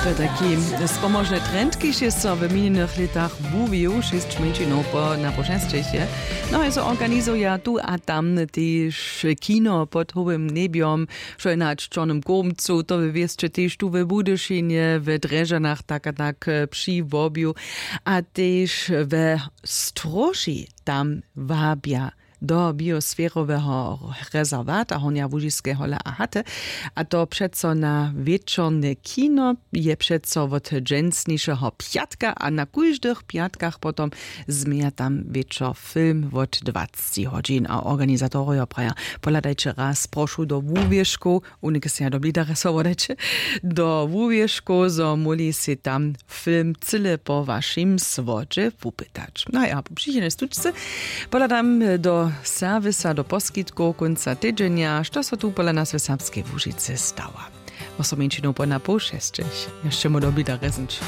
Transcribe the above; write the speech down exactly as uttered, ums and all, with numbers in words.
To je taki spomožny trend, kiž je so w minjenych lětach wuwił, šěsć mjeńšinow po na pošesćich je. No je so organizuja tu a tam tež kino pod howym njebjom, wšojnać w čornym kómcu, to we wěsće tež tu we budyšinje, we drježanach tak a tak, při wobju, a tež we stróži tam wabja do biosferoweho rezerwata hornja łužiskeho hola a haty. A to přeco na wječorne kino je přeco wot dźensnišeho pjatka a na kóždych pjatkach potom změja tam wječor film wot dwacci hodźin a organizatorojo praja: Pohladajće raz prošu do wuwěžkow, unike se ja do blidaresowo dajće, do wuwěžkow, zo móhli sej tam film cyle po wašim słodźe wupytać. No ja po přichodnej stučce pohladam do serwisa do poskitkow kónca tydźenja, što so tu pola nas w serbskej łužicy stała. Wosomjeńšinow po na poł šesćich. Ješće móhł do blidaresenć.